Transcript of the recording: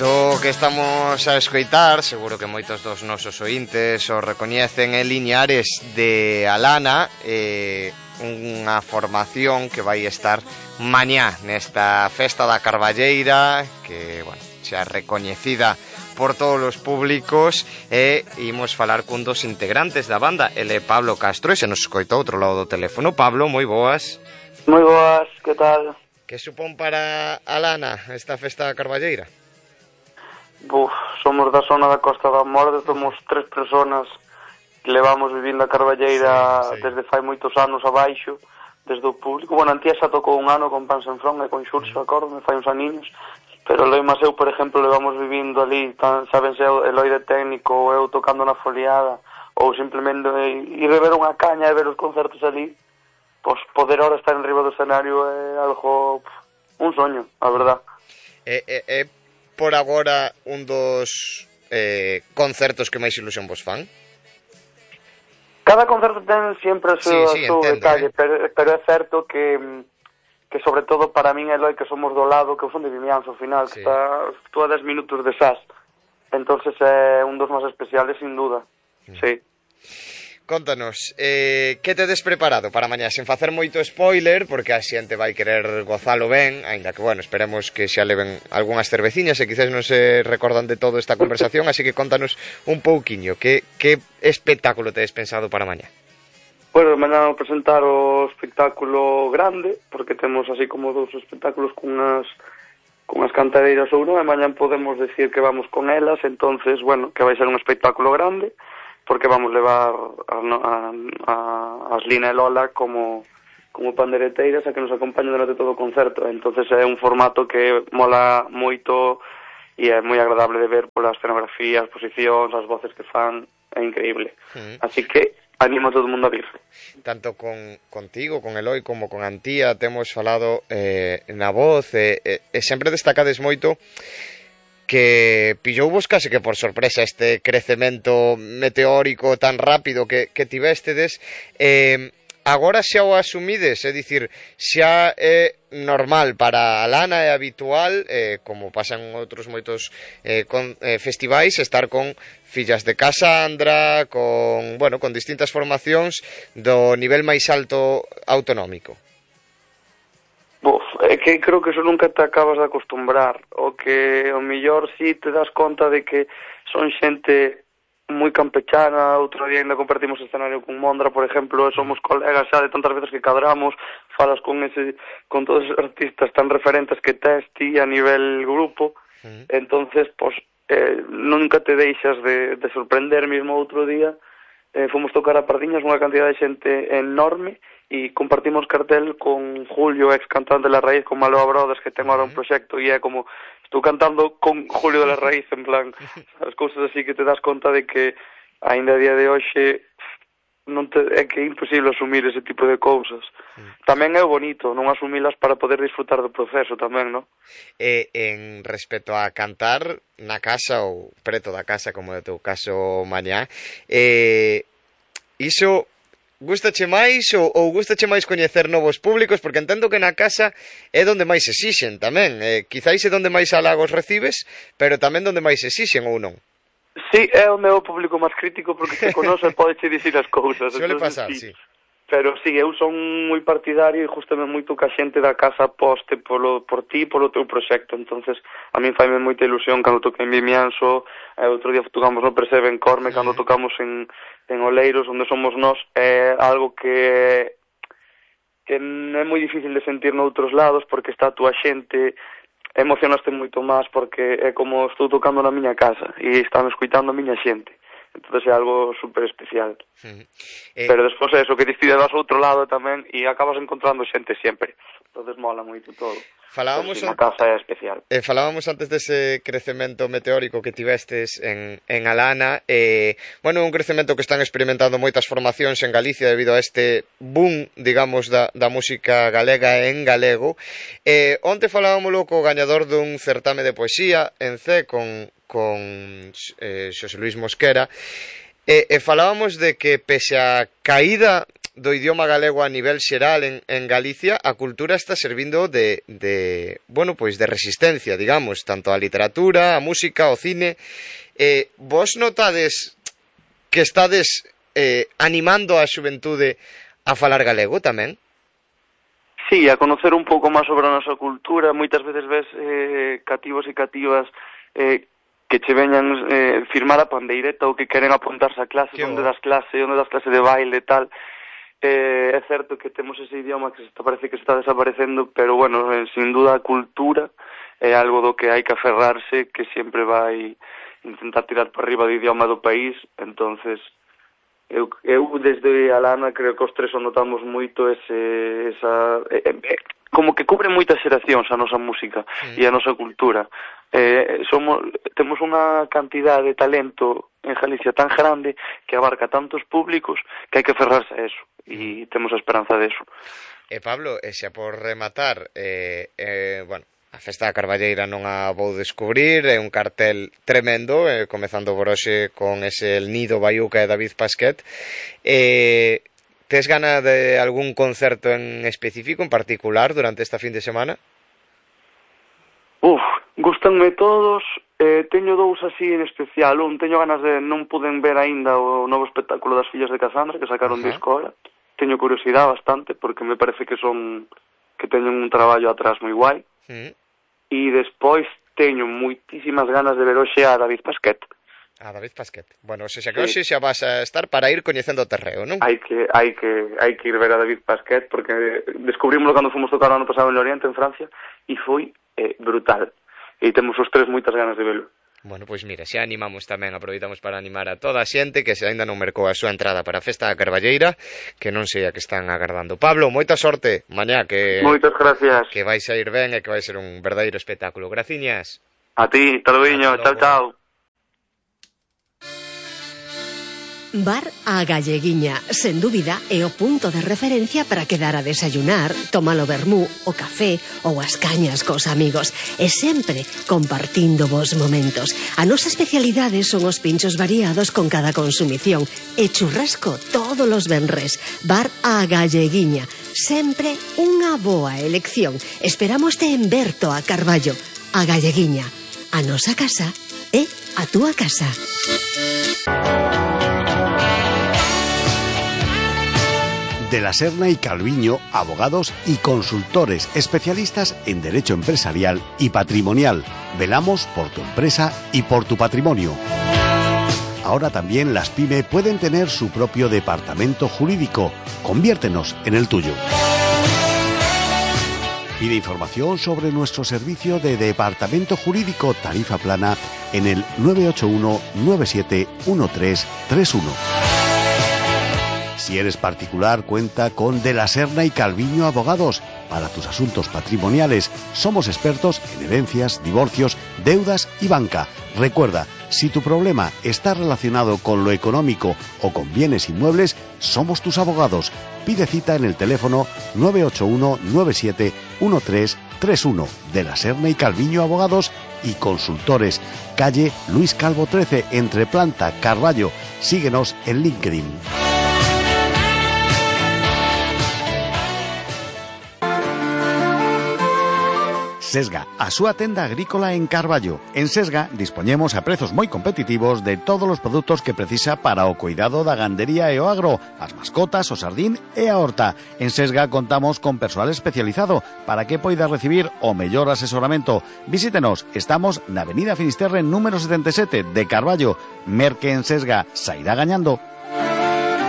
Isto que estamos a escoitar, seguro que moitos dos nosos ointes o recoñecen, en Liñares de Alana, unha formación que vai estar mañá nesta festa da Carballeira, que, bueno, xa recoñecida por todos os públicos, e imos falar cun dos integrantes da banda, ele Pablo Castro, e se nos escoita outro lado do teléfono. Pablo, moi boas. Moi boas, que tal? Que supón para Alana esta festa da Carballeira? Somos da zona da Costa da Morte, somos 3 personas que levamos vivindo a Carballeira desde fai moitos anos abaixo, desde o público. Bueno, Antía xa tocou un ano con Pan Senfrón e con Xurxo, acordo, me fai uns aniños, pero Loima eu, por exemplo, levamos vivindo ali, sabense, Eloi de técnico, ou eu tocando na foliada, ou simplemente ir a ver unha caña e ver os concertos ali, pois poder ahora estar en riba do escenario é algo, un soño, a verdad. Por agora un dos concertos que máis ilusión vos fan? Cada concerto ten sempre o seu detalle, pero é certo que sobre todo para min Eloi, que somos do lado, que eu son de Vimianzo ao final, que está a 10 minutos de Sas, entonces é un dos máis especiales sin duda, sí. Contanos, que tedes preparado para mañá, sen facer moito spoiler, porque a xente vai querer gozalo ben, aínda que, bueno, esperemos que xa leven algunhas cerveciñas e quizás non se recordan de todo esta conversación, así que contanos un pouquiño, que espectáculo tedes pensado para mañá? Bueno, mañá vou presentar o espectáculo grande, porque temos así como 2 espectáculos cunhas cantadeiras ou non, e mañá podemos decir que vamos con elas, entonces, bueno, que vai ser un espectáculo grande, porque vamos levar as Lina e Lola como pandereteiras a que nos acompañen durante todo o concerto. Entonces é un formato que mola moito e é moi agradable de ver pola escenografía, as posicións, as voces que fan, é increíble. Así que animo a todo o mundo a vir. Tanto contigo, con Eloi, como con Antía temos falado na voz e sempre destacades moito que pillouvos case que por sorpresa este crecemento meteórico tan rápido que tivestedes. Agora xa o asumides, é dicir, xa é normal para a Lana, é habitual, como pasan outros moitos festivais, estar con fillas de Casandra, con distintas formacións do nivel máis alto autonómico. É que creo que eso nunca te acabas de acostumbrar, o que o mellor si te das conta de que son xente moi campechana. Outro día ainda compartimos escenario con Mondra, por exemplo, e somos colegas xa de tantas veces que cadramos, falas con todos os artistas tan referentes que tes ti a nivel grupo, entonces, nunca te deixas de sorprender. Mesmo outro día fomos tocar a Pardiñas unha cantidad de xente enorme, e compartimos cartel con Julio, ex cantante de La Raíz, con Maloa Brothers, que ten agora un proxecto, e é como, estou cantando con Julio de La Raíz, en plan, as cousas así que te das conta de que ainda a día de hoxe é que é imposible asumir ese tipo de cousas. Tamén é bonito non asumilas para poder disfrutar do proceso tamén, non? En respecto a cantar na casa ou preto da casa, como é o teu caso mañá, iso gustache máis ou gustache máis coñecer novos públicos? Porque entendo que na casa é donde máis exixen tamén, quizáis é donde máis halagos recibes, pero tamén donde máis exixen, ou non? Sí, é o meu público máis crítico, porque se conoce podeche dicir as cousas. Suele pasar, sí. Pero sí, eu son moi partidario e justamente moito que a xente da casa aposte por ti e polo teu proxecto. Entonces a min faime moita ilusión cando toquei en Vimianzo, outro día tocamos no Percebe en Corme, cando tocamos en Oleiros, onde somos nós, é algo que é moi difícil de sentir noutros lados, porque está a túa xente, emocionaste moito máis, porque é como estou tocando na miña casa e están escuitando a miña xente. Entonces é algo super especial. Pero despois é eso, que decides ao outro lado tamén e acabas encontrando xente sempre. Entonces mola moito todo. Falábamos na casa é especial. Falábamos antes dese crecemento meteórico que tivestes en Alana. Un crecemento que están experimentando moitas formacións en Galicia debido a este boom, digamos, da música galega en galego. Onte falábamos co gañador dun certame de poesía en C con Xosé Luis Mosquera, Falábamos de que pese a caída do idioma galego a nivel xeral en Galicia, a cultura está servindo de resistencia, digamos, tanto a literatura, a música, ao cine. Vos notades que estades animando a xuventude a falar galego tamén? Sí, a conocer un pouco máis sobre a nosa cultura. Moitas veces ves cativos e cativas que che veñan firmar a pandeireta ou que queren apuntarse a clase, onde das clase de baile e tal. É certo que temos ese idioma que parece que está desaparecendo, pero bueno, sin duda a cultura é algo do que hai que aferrarse, que sempre vai intentar tirar para arriba do idioma do país. Entonces eu desde a Lana creo que os tres notamos moito como que cubre moitas xeracións a nosa música e a nosa cultura. Temos unha cantidad de talento en Galicia tan grande que abarca tantos públicos que hai que aferrarse a eso, e temos a esperanza de eso. Pablo, xa por rematar, a Festa da Carballeira non a vou descubrir, é un cartel tremendo, comezando por hoxe con ese El Nido, Baiuca e David Pasquet. Tes gana de algún concerto en específico, en particular, durante esta fin de semana? Gustanme todos. Teño dous así en especial. Teño ganas de... Non puden ver aínda o novo espectáculo das Fillas de Casandra, que sacaron disco ahora. Teño curiosidade bastante, porque me parece que teñen un traballo atrás moi guai. E despois teño moitísimas ganas de ver hoxe a David Pasquet. David Pasquet. Bueno, se xa que hoxe xa vas a estar para ir coñecendo o terreo, non? Hai que ir ver a David Pasquet, porque descubrimos cando fomos tocar o ano pasado en Loriente, en Francia, e foi brutal. E temos os tres moitas ganas de velo. Bueno, pois mira, xa animamos tamén, aproveitamos para animar a toda a xente que se aínda non mercou a súa entrada para a Festa da Carballeira, que non sei a que están agardando. Pablo, moita sorte mañá, que moitas gracias. Que vais a ir ben e que vai ser un verdadeiro espectáculo. Graciñas. A ti, taluiño, chao. Bar A Galleguiña, sen dúbida, é o punto de referencia para quedar a desayunar, tomar o vermú, o café ou as cañas cos amigos, e sempre compartindo vos momentos. A nosa especialidade son os pinchos variados con cada consumición e churrasco todos os venres. Bar A Galleguiña, sempre unha boa elección. Esperámoste en Berto a Carballo. A Galleguiña, a nosa casa é a túa casa. De la Serna y Calviño, abogados y consultores especialistas en derecho empresarial y patrimonial. Velamos por tu empresa y por tu patrimonio. Ahora también las PYME pueden tener su propio departamento jurídico. Conviértenos en el tuyo. Pide información sobre nuestro servicio de departamento jurídico tarifa plana en el 981 97 1331. Si eres particular, cuenta con De la Serna y Calviño Abogados. Para tus asuntos patrimoniales, somos expertos en herencias, divorcios, deudas y banca. Recuerda, si tu problema está relacionado con lo económico o con bienes inmuebles, somos tus abogados. Pide cita en el teléfono 981 97 1331. De la Serna y Calviño Abogados y Consultores. Calle Luis Calvo 13, entre Planta, Carballo. Síguenos en LinkedIn. Sesga, a súa tenda agrícola en Carballo. En Sesga dispoñemos a prezos moi competitivos de todos os produtos que precisa para o cuidado da gandería e o agro, as mascotas, o sardín e a horta. En Sesga contamos con persoal especializado para que poida recibir o mellor asesoramento. Visítenos, estamos na Avenida Finisterre número 77 de Carballo. Merque en Sesga, sairá gañando.